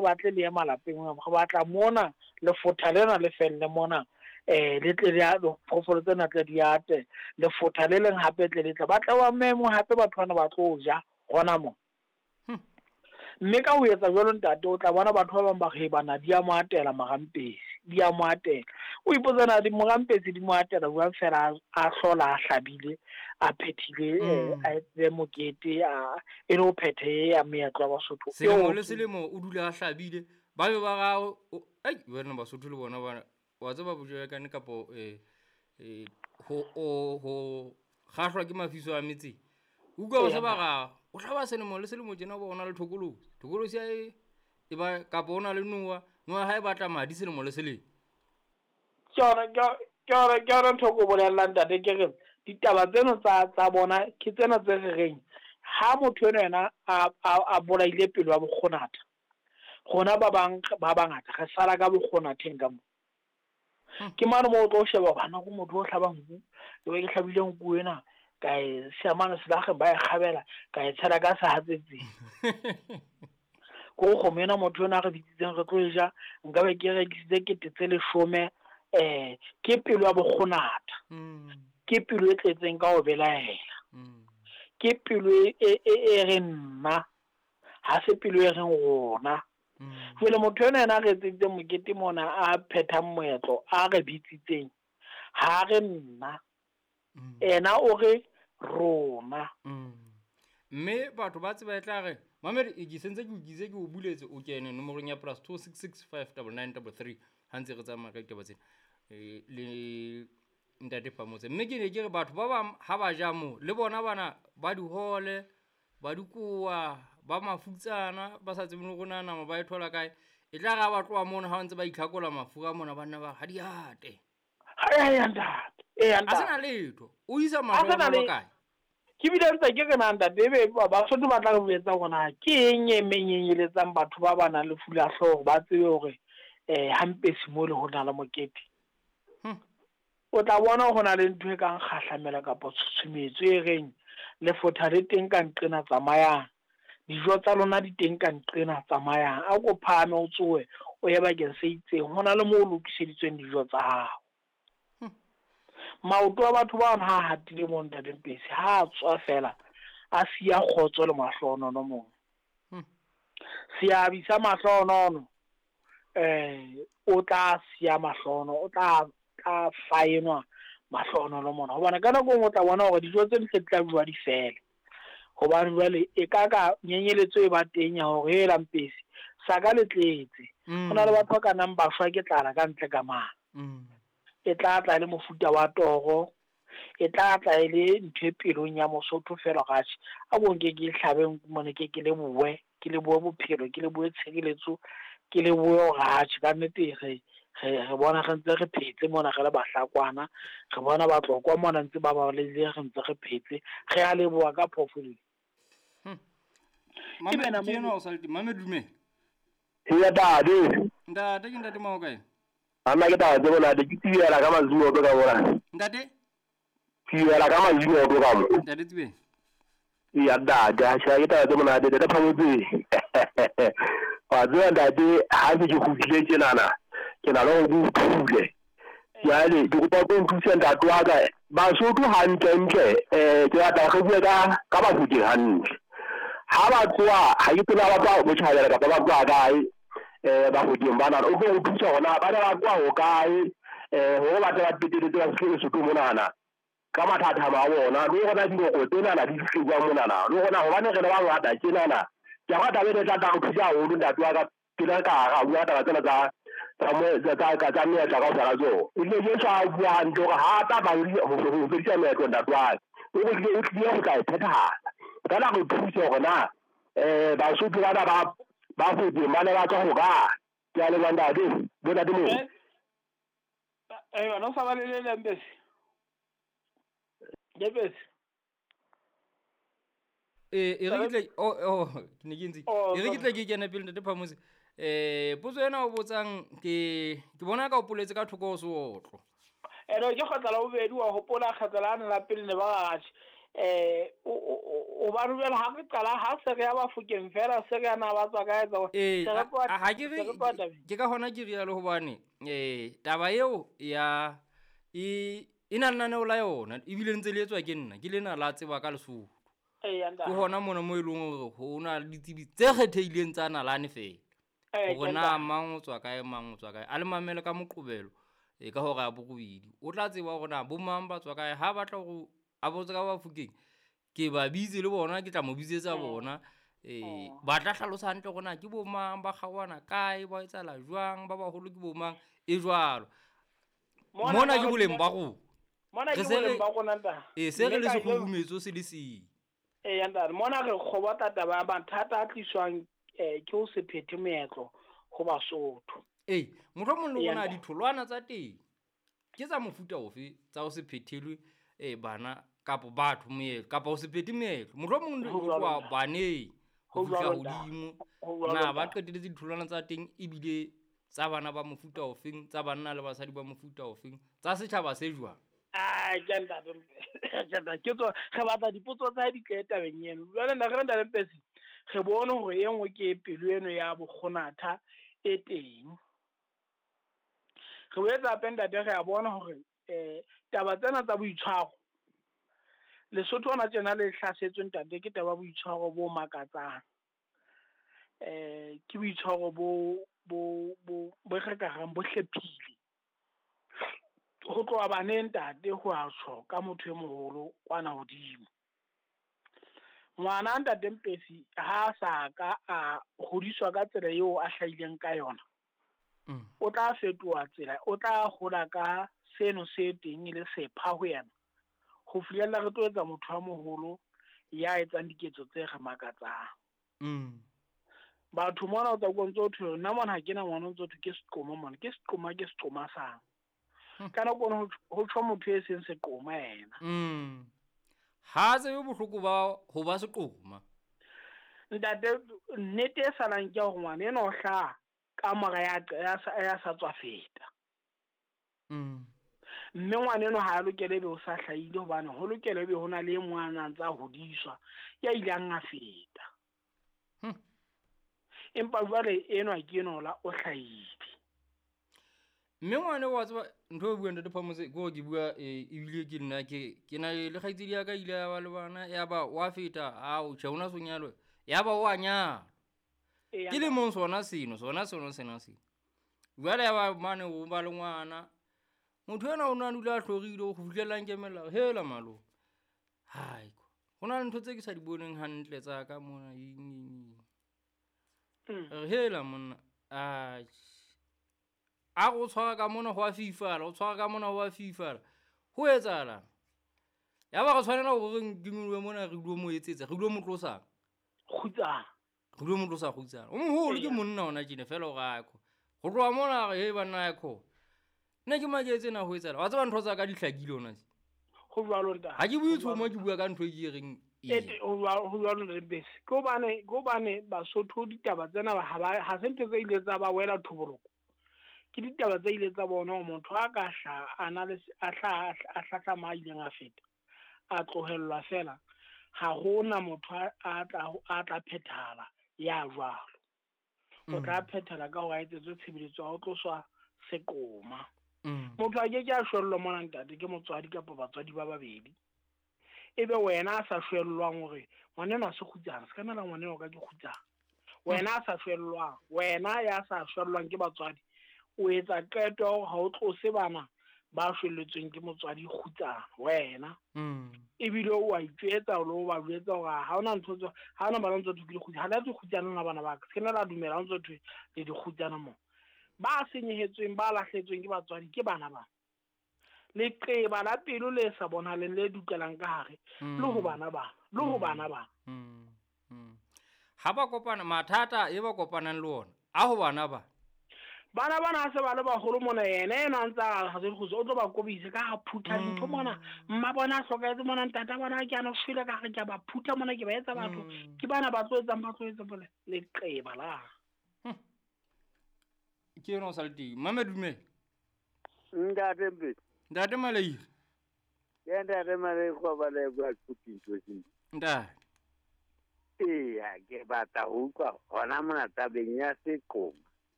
Batle le ye malapeng, re batla mona lefotha lena le felle mona, le tle le phoofolo tsena tle di ate, lefotha le leng hape tle le tle, ba tle ba memo hape batho bana ba tlo ja hona mo. Mme ka ho etsa jwalo ntate, o tla bona batho ba bang ba re bana di a mo atela morampesi, di a mo atela. O ipotsa na di morampesi di mo atela jwang fela a hlola a hlabile, a phethile, a etse mokete, a e le ho phethe ya meetlo ya Basotho. Selemo le selemo o dula a hlabile, ba be ba ra ai wena Basotho le bona bana wa tseba bojelekane kapo ho kgahlwa ke mafiso a metseng. Utlwa ba se ba ra o hlaba selemo le selemo tjena o bona le thokolosi. Thokolosi ya e ba kapo o na le noa, noa ha e batla madi selemo le selemo. Ke yona ntho e ke o bolellang ntate, ke re ditaba tseno tsa bona ke tsena tse re reng ha motho eno yena a bolaile pelo ya bokgonatha, rona ba bang ba bangata re sala ka bokgonatheng ka mo. Ke mane moo o tlo sheba bana ko motho o hlabang nku, ke be ke hlabile nku ena ka e siya mane selakgeng ba e kgabela, ka e tshela ka sehatsetsing. Ko kgomo ena motho ena a re bitsitseng re tlo e ja, nka be ke rekisitse 10,000, ke pelo ya bokgonatha. Ke pelo e tletseng ka ho belaela. Ke pelo e reng nna, ha se pelo e reng rona. Jwale motho ena yena a re etseditseng mokete mona, a phethang moetlo, a re bitsitseng, ha re nna. Ena o re rona. Mme batho ba tseba e tla re, mamedi, ke sentse ke o kitse, ke o buletse, o kene nomorong ya plus two six six five double nine double three. Ha ntse re tsamaya ka ditaba tsena. Le ntate Phamotse. Mme ke ne ke re batho ba bang ha ba ja moo, le bona bana ba dihole, ba dikoa, ba mafutsana, ba sa tsebeng le hore na nama ba e thola kae. E tla re ha ba tloha mono, ha ba ntse ba itlhakola mafura mona, ba nna ba re, ha di ate. Ha ya ntate. A sena letho. O isa mahlohonolo kae? Ke bile ntse ke re na ntate, ebe Basotho ba tla re jwetsa hore na ke eng e menyenyeletsang batho ba ba nang le lefu la hlooho ba tsebe hore hampesi mo le ho na le mokete. O tla bona ho na le ntho e kang kgahlamelo kapa tshusumetso e reng lefotha le teng ka nqena tsamayang, dijo tsa lona di teng ka nqena tsamayang, a ko phahame o tsohe o ye bakeng se itseng, ho na le moo o lokiseditsweng dijo tsa hao. Maoto a batho ba ha hatile mo ntate Mpesi, ha a tswa fela a siya kgotso le mahlohonono mong. Seabi sa mahlohonono, o tla siya mahlohono, o tla faenwa mahlohonono mona. Hobane ka nako e nngwe o tla bona hore dijo tse di tla bua di fele. Hobane jwale e ka ka nyenyeletso e ba teng ya hore hela Mpesi sa ka le tletse. Ho na le batho ba ka nang ba shwa ke tlala ka ntle ka mane. E tla tla le mofuta wa toro, e tla tla e le ntho e pelong ya Mosotho fela hore atjhe, a ko nke ke hlabe nku mone, ke lebohe, ke lebohe bophelo, ke lebohe tshireletso, ke lebohe hore atjhe, ka nnete re bona re ntse re phetse mona re le Bahlakwana, re bona Batlokwa mona ntse ba balehile, re ntse re phetse, re a leboha ka phoofolo. Mame, ke enwa o sa le teng. Mame, dumela. Eya, ntate. Ntate, ke ntate Mao kae? Ana ke taba tse monate, ke tsibela ka mazimoto ka mona. Ntate? Tsibela ka mazimoto ka mo. Ntate Tsibeng. Eya, ntate, ha ke taba tse monate, ntate Phamotse. Wa tseba ntate, ha se ke kgutlile tjenana, ke na le hore ke o thule. Jwale ke kopa o tlo nthuse ntate wa ka. Basotho hantlentle, ke batla re bue ka Bafokeng hantle. Ha ba tloha, ha ke tsebe ha ba tloha botjhabela kapa ba tloha kae, Bafokeng bana, o tlo re thusa hore na ba ne ba tloha hokae, hore ba tle ba qetelletse ba fihle Lesotho monana ka mathathamo a bona, le hore na dinoko tsenana di fihle jwang monana, le hore na hobane re le bangata tjenana. Ke a rata taba ena e tla tla re thusa haholo ntate wa ka, pele re ka ra bua taba tsena tsa meetlo kaofela tsona. Ebile Jesu a bua hantle hore ha tla ba ho fedisa meetlo ntate wa ka, o re o tlile ho tla e phethahatsa. Feela re thuse hore na Basotho bana ba Bafokeng ba ne ba tswa hokae. Ke a leboha ntate, bo ntate moo. Wena o sa ba le le leng Mpesi? Mpesi? E re ke tle, ke ne ke ntse. E re ke tle ke kene pele ntate Phamotse. Potso ena o botsang ke bona ka o poletse ka thoko ho seotlo. Ene ke kgetla la bobedi, wa hopola kgetla la ne la pele ne ba re atjhe. O ba rubela ha re qala ha se re ya Bafokeng fela se re ya na ba tswa kae tsa ha ke re ke ka hona ke rialo hobane taba eo ya e na lenaneo la yona ebile ntse le etswa ke nna ke lena la tseba ka Lesotho. Ke hona mona mo e leng hore ho na le ditsebi tse kgethehileng tsa nalane fela. Hore na mang o tswa kae, mang o tswa kae. A le mamele ka Moqebelo ka hora ya 8. O tla tseba hore na bo mang ba tswa kae. Ha batla hore a botse ka Bafokeng, ke ba bitse le bona, ke tla mo bitsetsa bona. Ba tla hlalosa hantle hore na ke bo mang, ba kgaohana kae, ba etsahala jwang, ba baholo ke bo mang, e jwalo. Mona ke boleng ba rona. Mona ke boleng ba rona ntate. Se re le sekgurumetso se le seng. Ntate, mona re kgobotla taba ya mathata a tliswang ke ho se phethe moetlo ho Basotho. Mohlomong le rona ditholwana tsa teng ke tsa mofuta ofe tsa ho se phethelwe bana kapa batho moetlo kapa ho se phethe moetlo. Mohlomong le ho tloha baneng ho fihla hodimo. Na ba qeteletse ditholwana tsa teng ebile tsa bana ba mofuta ofeng, tsa banna le basadi ba mofuta ofeng, tsa setjhaba se jwang? Ke ntate, ke tswa re batla dipotso tsa di tle tabeng eno. Jwale nna re ntate Mpesi, re bone hore e nngwe ke pelo eno ya bokgonatha e teng. Re boetse hape ntate re a bona hore taba tsena tsa boitshwaro Lesotho hona tjena le hlasetswe ntate ke taba ya boitshwaro bo makatsang. Ke boitshwaro bo re ka reng bo hlephile. Ho tloha baneng ntate ho a tjho ka motho e moholo kwana hodimo. Ngwana ntate Mpesi ha sa ka a hodiswa ka tsela eo a hlahileng ka yona, o tla fetoha tsela, o tla hola ka seno se teng e le sepha ho yena. Ho fihlella re tlo etsa motho a moholo ya etsang diketso tse re makatsang. Batho mona o tla utlwa ntse ho thwe nna mona ha ke na ngwana, o ntse ho thwe ke seqoma mona, ke seqoma, ke seqoma sang. Ka nako eno ho tjho motho e seng seqoma yena. Ha tsebe bohloko ba ho ba seqoma. Ntate, nnete e salang ke hore ngwana enwa o hlaha ka mora ya sa tswa feta. Mme ngwana enwa ha a lokele ebe o sa hlahile hobane ho lokela ebe ho na le e mong a na ntse a hodiswa ya ileng a feta. Empa jwale enwa ke enwa la o hlahile. Mme ngwana wa tseba ntho e buang ntate Phamotse ke hore ke bua ebile ke nna ke na le kgaitsedi ya ka ile ya ba le bana ya ba wa feta ao tjhe hona sonyalo ya ba wa nyalwa. Ke le mong sona seno sona seno sena seno. Jwale ya ba mane o ba le ngwana. Motho ena o na dula a hlorile ho fihlela nkemela hela malo. Hai ho na le ntho tse ke sa di boneng hantle tsa ka mona eng. Hela monna a go tshwara ka mona ho a fifala, o tshwara ka mona ho a fifala. Ho etsahalang? Ya ba re tshwanela hore re nkingwe mona re dilo mo etsetsa, re dilo mo tlosa. Kgutsana. Re dilo mo tlosa kgutsana. O moholo ke monna ona tjena fela o ra ko. Ho tloha mona re he banna ya ko. Nna ke maketse na ho etsahala. Wa tseba ntho tsa ka di hlakile ona tje. Ho jwalo ntate. Ha ke bue tshomo ke bua ka ntho e ke reng ho jwalo ntate Mpesi. Ke hobane Basotho ditaba tsena ha se ntho tse ile tsa ba wela thoboloko. Ke ditaba tse ile tsa bona hore motho a ka hlaha a na le a hlaha a hlahlama a ileng a feta a tlohellwa fela ha hona motho a tla phethahala ya jwalo. O tla phethala ka hore a etsetswe tshebeletso ya ho tloswa seqoma. Motho a ke ke a shwellwa mona ntate ke motswadi kapa batswadi ba babedi. Ebe wena a sa shwellwang hore ngwana enwa se kgutsana, se ka nna la ngwana enwa ka ke kgutsana. Wena a sa shwellwang, wena ya sa shwellwang ke batswadi, o etsa qeto ya hore ha o tlose bana ba shwelletsweng ke motswadi kgutsana wena. Ebile o a itjwetsa le o ba jwetsa hore ha hona ntho tse ha hona bana ntse thwe ke dikgutsana, ha le a kgutsana na bana ba ka. Se ke nna la dumela ha ntse thwe le dikgutsana mo. Ba senyehetsweng ba lahletsweng ke batswadi ke bana ba. Leqeba la pelo le sa bonahaleng le dukelang ka hare le ho bana ba, le ho bana ba. Ha ba kopana mathata e ba kopanang le ona a ho bana ba. Bana bana ha se ba le baholo mona yena ena a ntse a ha se dikgutso o tlo ba kobisa ka ha phutha dintho mona. Mma bona a hlokahetse mona, ntata bona ke ana o shwele ka hare ke a ba phutha mona ke ba etsa batho. Ke bana ba tlo etsang ba tlo etsa bole leqeba la. Ke yona o sa le teng. Mama dumela. Ntate Mpesi. Ntate Maleire. Ke ntate Malekwa ba le bua tshupintso. Ntate. Eya, ke batla ho utlwa hona mona tabeng ya seqoma.